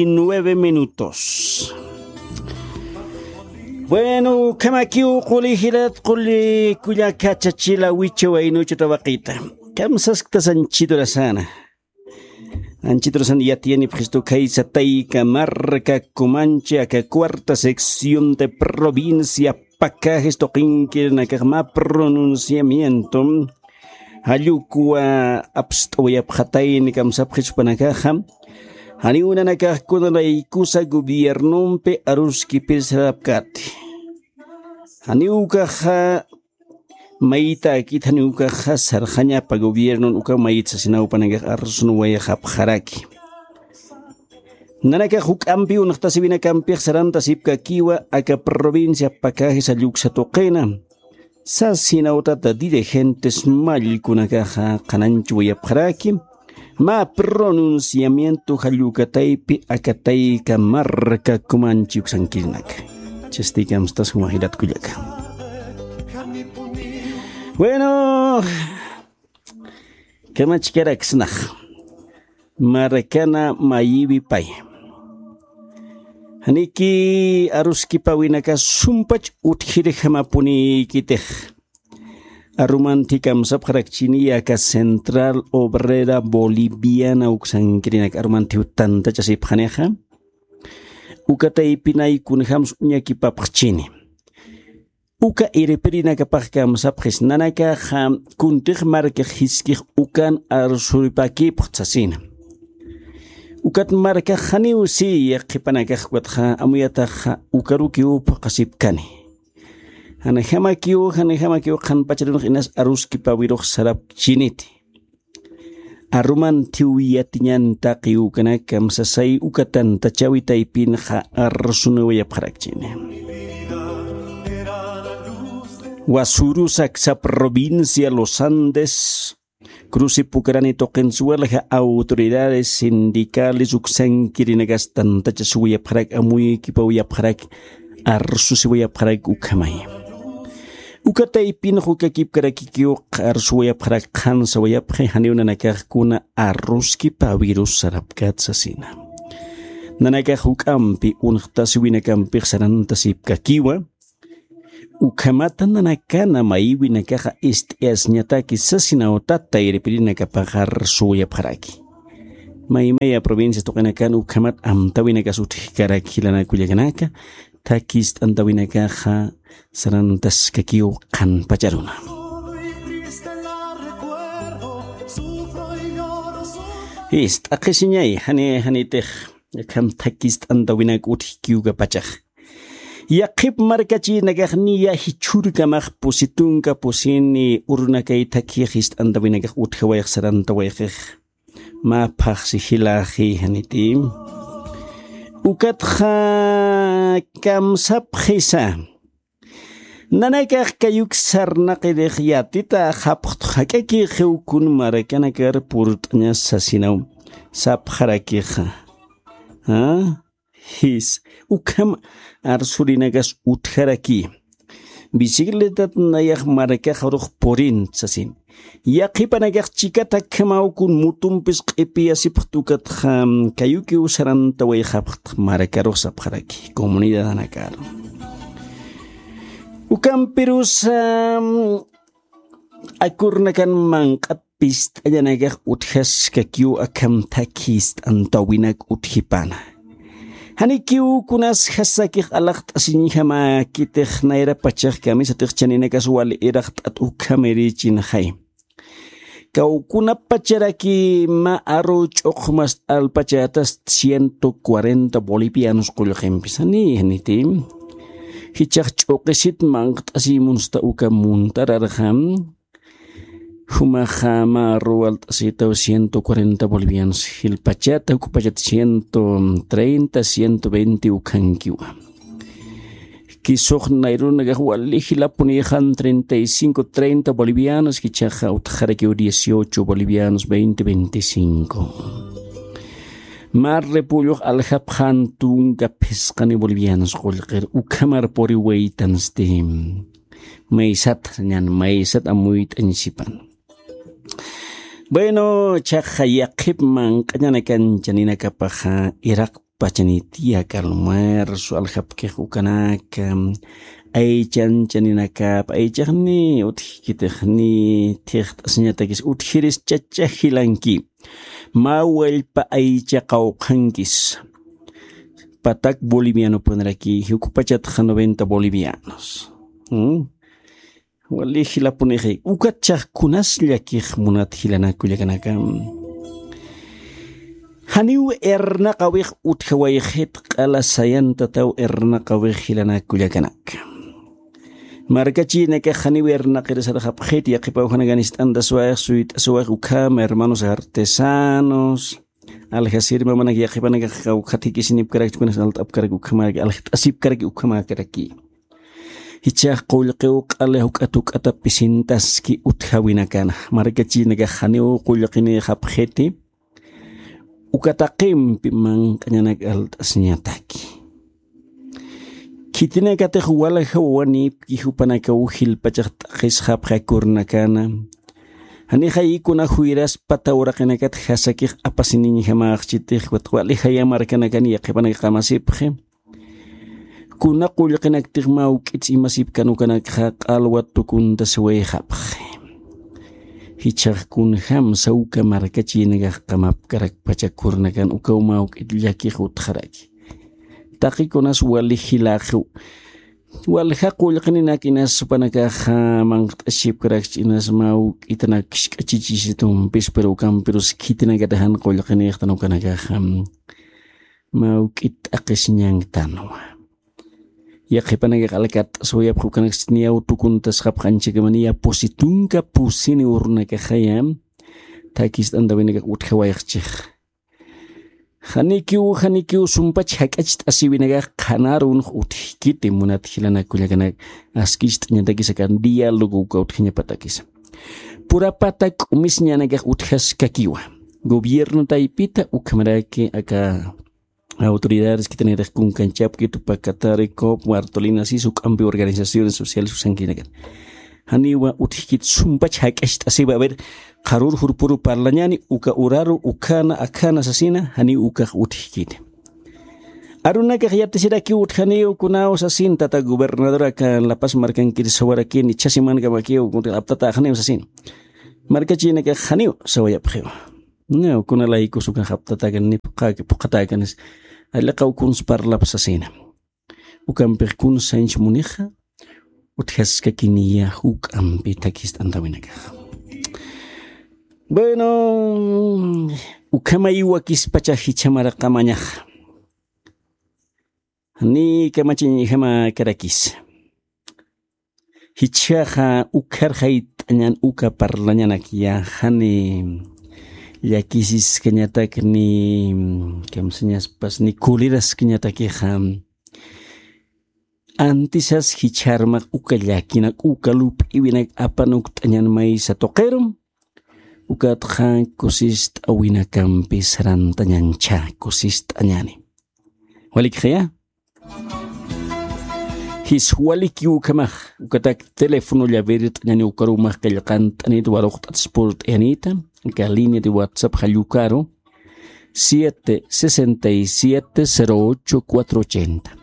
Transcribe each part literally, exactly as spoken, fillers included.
Nueve minutos. Bueno, ukhamakiw quli jilat, quli kullaka, chachila, wicha waynucha tawaqita. Kamsasktas anchhit urasana. Anchhit urasana yatiyanipxistu khaysa Tayka Marka Kumanchi aka cuarta sección de provincia Pacajes tuqinkirinakax mä pronunciamiento jallukwa apst'awayapxatayni kamsapxis jupanakaxa. Janiw nanakax kunalaykusa gobiernompi aruskipir sarapkati. Janiw ukaxa maytakit, janiw ukaxa sarxañapa gobiernon uka mayt sasinaw jupanakax arsunwayaxapxaraki. Nanakax juk'ampi unxtasiwinakampix sarantasipkakiwa aka provincia Pacajes jalluksa tuqina. Sasinawtata dirigentes mallkunakaxa qhananchwayapxaraki. Mä pronunciamiento jallukataypi aka Tayka Marka Kumanchi uksankirinaka. Chasti kamstas juma jilat kullaka. Bueno, kamachkaraksnax. Markana mayiwi pay. Janiki aruskipawinaka sumpach utjirjamapunïkitix. Arumanthi kamsapxarakchini aka Central Obrera Boliviana uksankirinak, arumanthi tantachasipxanixa. Uka taypinay kunjams uñakipapxchini. Uka irpirinakapax kamsapxis, nanakaxa kuntix markax jiskix ukan arsuripäkipxta sasina. Ukat markax janiw si yaqhipanakax ukatxa amuyataxa ukarukiw phuqhasipkani. Janjamakiw, janjamakiw qhanpacharunx inas aruskipawirux sarapkchiniti. Arumanthiw yatiñan taqi ukanak kamsasay uka tantachawi taypinxa arsunawayapxarakchini. Wasuru saksa provincia Los Andes, Cruce Pucarani tuqins walja autoridades sindicales uksankirinakas tantachasiwayapxarak, amuykipawayapxarak, arsusiwayapxarak ukhamay. Uka taypinx ukakipkarakikiw arsuwayapxarak, qhansawayapxi, janiw nanakax kuna arruskipawirus sarapkät sasina. Nanakax juk'ampi unxtasiwinakampix sarantasipkakiwa. Ukhamata nanakana mayiwinakaxa ist'ayasiñataki sasinawtat tayripirinakapax arsuwayapxaraki. Maymaya provincias tuqinakan ukhamat amtäwinakas utjkarak jilanaka kullakanaka, thakist'antawinakaxa sarantaskakiw qhanpacharuna. Ist'aqisiñay, jani, janitix, akham thakist'antawinak utjki ukapachax. Yaqhip markachirinakax niya jichhürkamax pusi tunka pusini urunakay thakix ist'antawinakax utjawayx sarantawayxix. Mä phaxsi jilaxi janiti. Ukatxa kamsapxisa. Nanakax kayuk sarnaqirix yatita japxtx jak'akixiw kun markanakar purt'añas sasinaw sapxarakixa. ¿Ah? Jis, ukham arsurinakas utjaraki. Bicicletat nayax markax urux purin sasin. Yaqhipanakax chikata akhamaw kun mutumpis q'ipiyasipxt ukatxa kayukiw sarantawayxapxt markarux sapxaraki comunidadanakar. Ukampirusa akurnakan manq'at pist'añanakax utjaskakiw akham thakist'antawinak utjipana. Janikiw kunas jasakix alaxt'asiñjamäkitix nayrapachax kamisatix chaninakas wal iraqt'at ukhamirïchinxay. Kawkunapacharaki mä aru ch'uqmas alpachätas ciento cuarenta bolivianos qullqimpis. Jani, janiti. Jichhax ch'uqisit manqt'asiy munsta uka muntararxa. Jumaxa mä aru walt'asitaw ciento cuarenta bolivianos, jilpachata, juk'pachat ciento treinta, ciento veinte ukhankiwa. Kisux nayrunakax wali jilapunïxan treinta y cinco, treinta bolivianos, jichhaxa utjarakiw dieciocho bolivianos, veinte, veinticinco. Mä repullux aljapxan tunka phisqani bolivianos qullqir, ukhamar puriwaytansti. Maysat ñan, maysat amuyt'añsipan. Bueno, chhaxa yaqhip manq'añanakan chaninakapaxa iraq pachanit, yak almuerzo aljapkix ukanaka, aychanchaninakap aychaxni utjkitixni thixt'asiñatakis utjiris chacha jilanki. Mä wallpa aycha qawqhankis patak bolivianopunraki, juk'pachatxa noventa bolivianos. ¿Mm? Wali jilapunixi, ukat chaqkunas llakix munat jilanak kullakanaka. Janiw irnaqawix utjawayxit q'ala sayantataw irnaqawix jilanak kullakanaka. Markachinakax janiw irnaqirisarxapxit, yaqhipaw janakan ist'antaswax, suyt'aswax ukhama, hermanos artesanos, aljasir mamanak yaqhipanakax kawkhat jikisinipkarakchi, kunas alt'apkarak ukhamaraki, aljt'asipkaraki ukhamakaraki. Jichhax qullqiw q'ala juk'at juk'ata pisintaski utjawinakana. Markachinakax janiw qullqinïxapxiti, uka taqimpi manq'añanak alt'asiñataki. Khitinakatix walja wawanïpki jupanakaw jilpachax t'aqhisxapxi akürnakana. Janixay kuna juyras pata uraqinakat jasakix apasiniñjamäxchitix, ukat wali jaya markanakan yaqhipanak qamasipxi. Kuna qullqinaktix mä juk'its imasipkan ukanakxa q'alwa tukuntasiwayxapxi. Jichhax kunjamsa uka markachinakax qamapkarakpacha akürnakan ukaw mä juk'it llakix utjaraki. Taqikunas wali jilaxiw. Walja qullqininak inas jupanakaxa manq't'asipkarakchi inas mä juk'itanak kishk'achichisitumpi, pero ukampirus khitinakatix jan qullqinïxtan ukanakaxa. Mä juk'it t'aqhisiñanktanwa. Yaqhipanakax alkatt'aswayapxi ukanaksti niyaw tukuntasxapxi anchhakama niya pusi tunka pusini urunakaxaya. Thakist'antawinakax utjawayxchix. Janikiw, janikiw sumpach jak'acht'asiwinakax qhanarunx utjkiti munat jilanak kullakanak, askicht'añatakis aka diálogo uka utjañapatakisa. Purapata k'umisiñanakax utjaskakiwa. Gobierno taypita ukhamaraki aka autoridades khitinakatix kunkanchapki Tupacatari, cop, Bartolina, sis juk'ampi organizaciones sociales usankinakan. Janiwa utjkit sumpach jak'acht'asiwa, a ver, qharur jurpuru parlañani, uka uraru, ukhana, akhana sasina, janiw ukax utjkit. Arunakax yatisirakiw utjaniw kunaw sasin, tata gobernador aka La Paz markankir sawarakin, ichha semankamakiw aptataxaniw sasin. Markachinakax janiw sawayapxiw. No, kuna laykus ukax aptatakan ni phuqhaki, phuqhatakan is. Alliqaw kuns parlap sasina. Ukampix kuns sanch munixa, utjaskakiniya juk'ampi thakist'antawinakax. Bueno, ukhamay wakispacha jichha maraqamañax. Ni kamachiñjama karakis. Jichhaxa ukharxayt'añan uka parlañanak ya jani llakisiskañatak ni kamsañaspas ni kuliraskañatakixa. Antisas jicharmax uka llakinak uka lup'iwinak apanukt'añan maysa tuqirum. Ukatxa kusist'awinakampi sarantañancha kusist'añani. Walikxaya. Jis waliki ukhamax ukatak teléfono llavert'añani ukarumax qillqant'anit waruqt'atspurt'ayanita. Aka línea de WhatsApp jallukaru siete sesenta y siete cero ocho cuatro ochenta.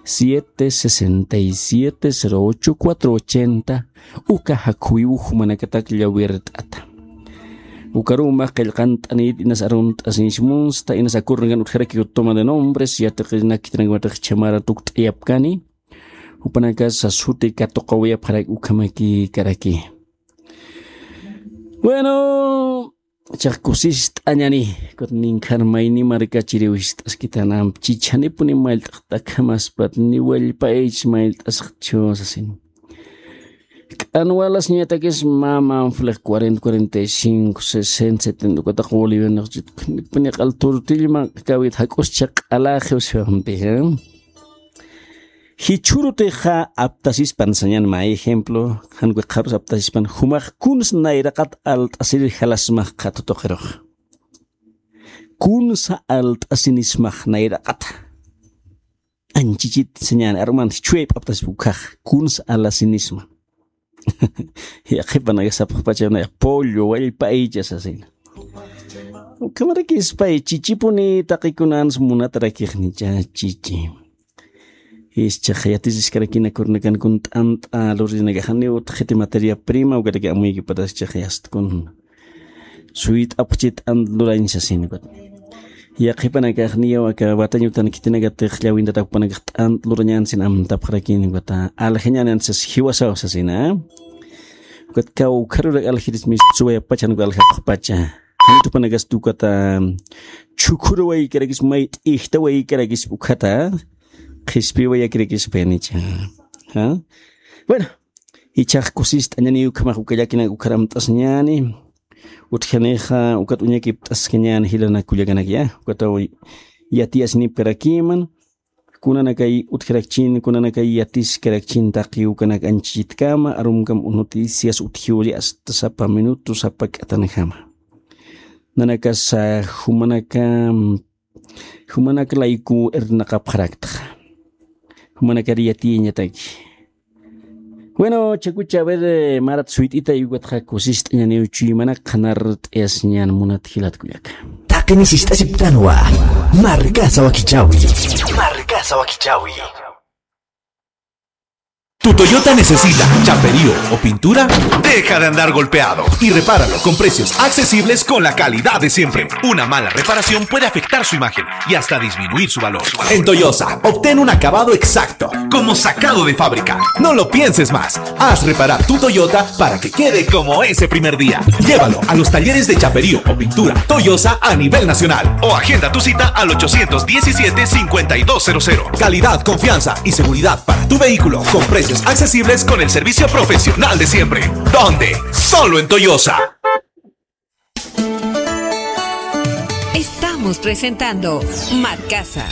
Siete sesenta y siete cero ocho cuatro ochenta. Uka jakhuwiw jumanakatak llawirt'ata. Ukarumax qillqant'anit inas arunt'asiñsmunsta inas akurnakan utjarakiw toma de nombres yatiqinakitanakamatax chhamara tukt'ayapkani. Jupanakas sasuti katuqawayapxarak ukhamaki karaki. Bueno, chax kusist'añani. Kut ninkhan mayni markachiriw jist'askitanamp chichanipuni mayllt'axtakhamaspat ni wallpaychis mayllt'asaxchu sasin. K'anwalasiñatakis mama flex cuarenta cuarenta y cinco sesenta setenta ukatax bolivianix chitkunipuni q'al turtillman kawit jak'uscha q'alaxiw siwampi. Jichhürutixa aptasispan sañan mä ejemplo, jan wiqharus aptasispan jumax kuns nayraqat alt'asir jalasmax qhatu tuqirux. Kunsa alt'asinismax nayraqat. Anchichit sañan arman jichhüyap aptasispa ukhax kuns alasinisma. Yaqhipanaka sapxpachawnaya pollo wallpa aycha sasina. Ukhamarakispay chichipuni taqi kunans munatarakixnicha chichi. Ischaq yatisiskarakina kurnakan kun t'ant'a lurinakaxaniw utjiti materia prima, ukaraki amuykipatas ischaq yastkun. Suyt'apxchi t'ant lurañ sasin ukat. Yaqhipanakaxniyaw aka watañutan khitinakatix llawintatapxpanakax t'ant lurañan sin amtapxarakin ukata aljañanan sas jiwasaw sasina. Ukat kawkharurak aljiris mis suwayapachan uka aljapxpacha. Jantupanakas tukata chhukhurwaykarakis mayt'ijtawaykarakis ukhata qhispiwayakirakispayanicha. ¿Ah? Bueno, ichax kusist'añani ukhamax uka llakinak ukharamt'asñani. Utjanixa ukat uñakipt'askañani jilanak kullakanakya. Ukataw yatiyasinipkarakiman. Kunanakay utjarakchin, kunanakay yatiskarakchin taqi ukanak anchhitkama, arumkam noticias utjiwri hasta sapa minuto, sapa k'atanjama. Nanakasa jumanaka, jumanak layku irnaqapxaraktaxa. Jumanakar yatiyañataki. Bueno, chakucha, a ver, eh, marat suyt'ita, ukatxa kusist'añaniw chuymanak qhanar t'ayasiñan munat jilat kullaka. Taqini sist'asiptanwa. Markasa wakichawi. Markasa wakichawi. ¿Tu Toyota necesita chaperío o pintura? Deja de andar golpeado y repáralo con precios accesibles, con la calidad de siempre. Una mala reparación puede afectar su imagen y hasta disminuir su valor. En Toyosa, obtén un acabado exacto, como sacado de fábrica. No lo pienses más. Haz reparar tu Toyota para que quede como ese primer día. Llévalo a los talleres de chaperío o pintura Toyosa a nivel nacional o agenda tu cita al ochocientos diecisiete, cincuenta y dos cero cero. Calidad, confianza y seguridad para tu vehículo con precios accesibles, con el servicio profesional de siempre. ¿Dónde? Solo en Toyosa. Estamos presentando Marcasa.